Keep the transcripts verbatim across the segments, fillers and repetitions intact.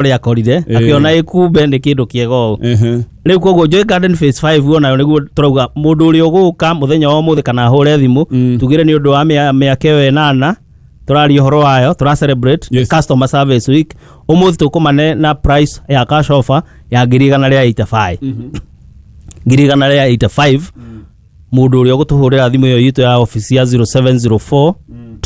Ũrĩa akorire Ĩĩ. akĩona ĩkumbe nĩ kĩndũ kĩega ũũ. Ehe. Rĩu koguo Joy Garden Phase five onayo nĩguo tũrauga mũndũ ũrĩa ũgũka mũthenya wa ũmũthĩ kana ahũre thimũ, Mm. tugire nĩ ũndũ wa mĩa- mĩaka ĩyo ĩnana tũraria ũhoro wayo, tũra celebrate Yes. Customer Service Week. Ũmũthĩ tũkũmane na price ya cash offer ya ngiri igana rĩa mĩrongo ĩnane na ithano, ngiri igana rĩa mĩrongo ĩnane na ithano. Mũndũ ũrĩa ũgũtũhũrĩra thimũ ĩyo itũ ya office ya zero seven zero four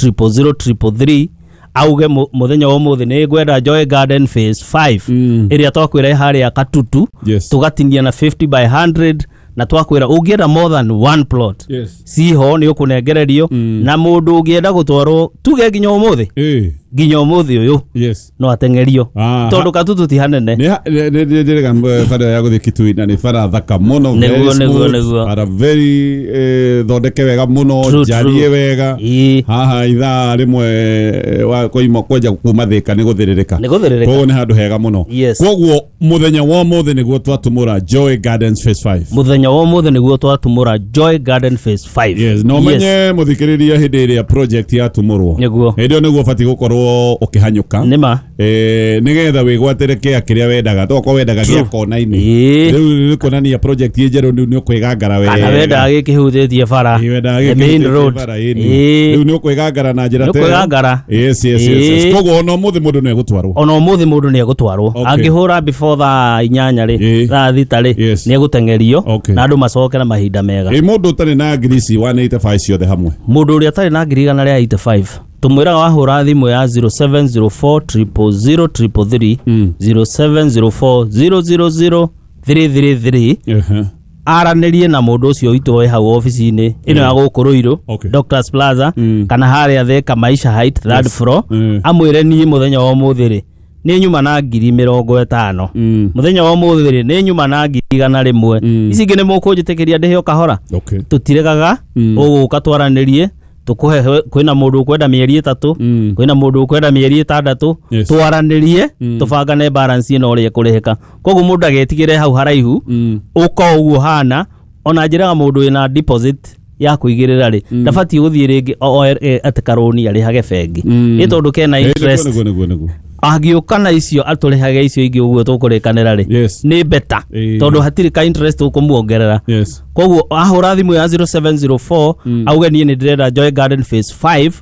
zero zero zero three three auge mu- mũthenya wa ũmũthĩ nĩ ngwenda Joy Garden Phase five, Mm. ĩrĩa twakwĩra ĩ harĩa Katutu, Yes. tũgatinia na fifty by one hundred, na twakwĩra ũngĩenda more than one plot, Yes. ciho nĩ ũkũnengererio. Mm. Na mũndũ ũngĩenda gũtwarwo tuge nginya ũmũthĩ, Eh. nginya ũmũthĩ ũyũ, Yes. no ateng'erio, Ah, tondũ Katutu ti hanene. Nĩ nĩ nĩ bara ya gũthiĩ Kitui na nĩ bara thaka mũno, very Nĩguo, nĩguo, smooth, nĩguo. bara very eh, thondeke wega mũno, True, njarie true. wega. Ĩĩ. Haha ithaa rĩmwe eh, wa koima kwenja kuma Thĩka nĩ gũthĩrĩrĩka. Nĩ gũthĩrĩrĩka. Koguo nĩ handũ hega mũno. Yes. Koguo mũthenya wa ũmũthĩ nĩguo twatumũra Joy Gardens Phase five. Mũthenya wa ũmũthĩ nĩguo twatumũra Joy Garden Phase five. Yes, no menye mũthikĩrĩria hĩndĩ ĩrĩa project yatumũrwo, Nĩguo. hĩndĩ ĩyo nĩguo ũbatiĩ gũkorwo ũkĩhanyũka, Nĩma. eh, nĩgetha wĩgwatĩre kĩa kĩrĩa wendaga. Tokorwo wendaga gĩa kona-inĩ, Ĩĩ. rĩu nĩ kuonania project ĩ njerũ, rĩu nĩ ũkwĩgangara wega. Kana wendaga gĩkĩhutĩtie bara, Ĩĩ, wendaga the main gĩkĩhutĩtie road. bara, ĩni. Ĩĩ. Rĩu nĩ ũkwĩgangara na njĩra Nĩ ta ĩyo. ũkwĩgangara. yes yes yes, yes. Ĩĩ. Koguo ona ũmũthĩ mũndũ nĩ egũtwarwo. Ona ũmũthĩ mũndũ nĩ egũtwarwo. Okay. Angĩhũra before thaa inyanya rĩ, Ĩĩ. thaa thita rĩ, Yes. nĩ egũteng'erio Okay. na andũ macoke na mahinda mega. Ĩ mũndũ ũtarĩ na ngiri ici igana rĩa mĩrongo ĩnane na ithano ciothe hamwe? Mũndũ ũrĩa atarĩ na ngiri igana rĩa mĩrongo ĩnane na ithano, tũmwĩraga wahũra thimũ ya zero seven zero four zero zero zero three three, Mm. zero seven zero four zero zero zero three three three, Ehe. aranĩrie na mũndũ ũcio witũ wĩ hau obici-inĩ ĩno ya gũkũ Rũirũ, Okay. Doctors Plaza, Mm. kana harĩa Thika Maisha Height, third Yes. floor, Mm. amwĩre niĩ mũthenya wa ũmũthĩ rĩ nĩ nyuma na ngiri mĩrongo ĩtano, Mm. mũthenya wa ũmũthĩ rĩ nĩ nyuma na ngiri igana rĩmwe, Mm. ici ingĩ nĩ mũkũnjĩtĩkĩria ndĩhe o kahora. Okay. Tũtiregaga. Mm. Ũgũka twaranĩrie, tũkũhe. Kwĩna mũndũ ũkwenda mĩeri ĩtatũ, Mm. kwĩna mũndũ ũkwenda mĩeri ĩtandatũ. Yes. Twaranĩrie, Mm. tũbangane balance ĩno ũrĩa ĩkũrĩhĩka. Koguo mũndũ agetigĩre hau haraihu, Mm. ũka o ũguo hana. Ona njĩraga mũndũ wĩna deposit ya kũigĩrĩra rĩ, ndabatiĩ gũthiĩ rĩngĩ o- o- e- atĩ karũni arĩhage bengi, Mm. nĩ tondũ kena Eh, interest. nĩguo nĩguo nĩguo. Angĩũka na icio atũrĩhage icio ingĩ ũguo tũkũrĩkanĩra rĩ, Yes. nĩ better, Ĩĩ. tondũ hatirĩ ka interest ũkũmuongerera. Yes. Koguo ahũra thimũ ya zero seven zero four, Mm. auge niĩ nĩ ndĩrenda Joy Garden Phase five,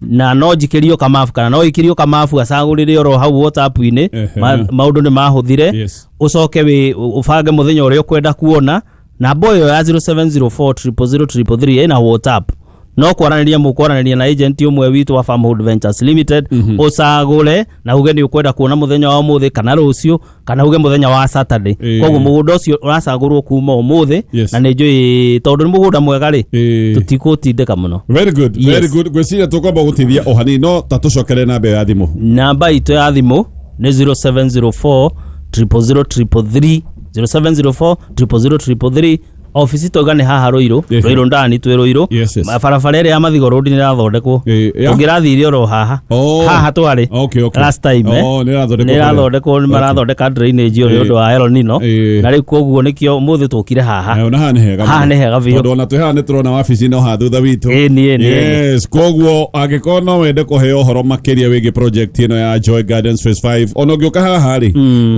na no njikĩrio kamabu kana no ikĩrio kamabu, acagũrĩre oro hau WhatsApp-inĩ. Ehe. Ma- maũndũ nĩ mahũthire. Yes. Ũcoke wĩ ũbange mũthenya ũrĩa ũkwenda kuona. Namba ĩyo ya zero seven zero four zero zero three three ĩna WhatsApp, no kwaranĩria mũkwaranĩria na agent ũmwe witũ wa Farmhold Ventures Limited. Mhm. Ũcagũre na uge nĩ ũkwenda kuona mũthenya wa ũmũthĩ kana rũciũ, kana uge mũthenya wa Saturday. Ĩĩ. Koguo mũgũnda ũcio ũracagũrwo kuma ũmũthĩ, Yes. na nĩ njũĩ tondũ nĩ mũgũnda mwega rĩ, Ĩĩ. tũtikũtindĩka mũno. Very good. Yes. Very good. Ngwĩciria tũkwamba gũtithia o hanini, no ta tũcokere namba ĩyo ya thimũ. Namba itũ ya thimũ nĩ zero seven zero four zero zero three three, zero seven zero four zero zero three three. Ofici twauga nĩ haha Rũirũ. Ehe. Rũirũ ndani, twĩ Rũirũ. Yes, yes. Barabara ĩrĩa ya Mathigo Road nĩ ĩrathondekwo. Ĩ, ya? Ũngĩrathire oro haha, Oh. haha twarĩ Okay, okay. last time, eh. Oh, nĩ ĩrathondekwo. Nĩ ĩrathondekwo, nĩ marathondeka drainage ĩyo nĩ Ĩ. ũndũ wa El Nino. Ĩ. Na rĩu koguo nĩkĩo ũmũthĩ tũkire haha. Eh, ona haha nĩ hega Haha mũno. nĩ hega biũ. Tondũ ona twĩ haha nĩ tũrona wabici no haha thutha witũ. Ĩni, ĩni, ĩni. Yes, koguo angĩkorwo no wende kũheo ũhoro makĩria wĩgiĩ project ĩno ya Joy Gardens Phase five, ona ũngĩũka haha rĩ,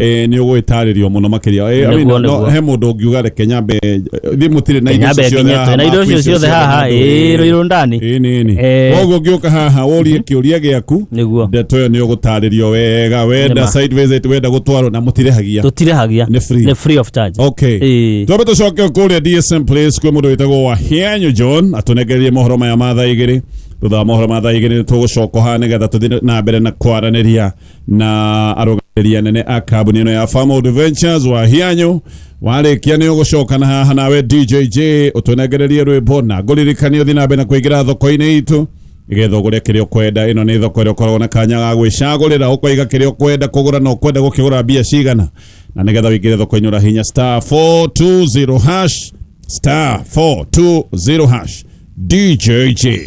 eh, nĩ ũgwĩtarĩrio mũno makĩria. Eh, I mean, Nĩguo, no, nĩguo. he mũndũ ũngiuga reke nyambe thiĩ, mũtirĩ na indo Nyambe icio ciothe nginye haha, twĩ na indo mabu icio icio ciothe haha, handũ. ĩĩ, Rũirũ ndani. Ĩni, ĩni. Eh. Koguo ũngĩũka haha ũrie kĩũria gĩaku, Nĩguo. ndeto ĩyo nĩ ũgũtarĩrio wega. Wenda Nĩma. site visit, wenda gũtwarwo, na mũtirĩhagia. Tũtirĩhagia. Nĩ free. Nĩ free of charge. Okay. Ĩĩ. Twambe tũcoke kũrĩa D S M Place kwĩ mũndũ wĩtagwo Wahianyu John atũnengererie mohoro maya ma thaa igĩrĩ. Thutha wa mohoro ma thaa igĩrĩ nĩ tũgũcoka haha nĩgetha tũthiĩ na mbere na kwaranĩria na arũgamĩrĩri anene a kambuni ĩno ya Farmhold Ventures. Wahianyu warĩkia nĩ ũgũcoka na haha nawe D J J ũtũnengererie rwĩmbo, na ngũririkanie ũthiĩ na mbere na kũingĩra thoko-inĩ itũ nĩgetha ũgũre kĩrĩa ũkwenda. Ĩno nĩ thoko ĩrĩa ũkoragwo na kanya ga gwĩcagũrĩra, ũkoiga kĩrĩa ũkwenda kũgũra na ũkwenda gũkĩgũra mbia cigana. Na nĩgetha wĩingĩre thoko-inĩ ũrahinya star four two zero hash, star four two zero hash. D J J.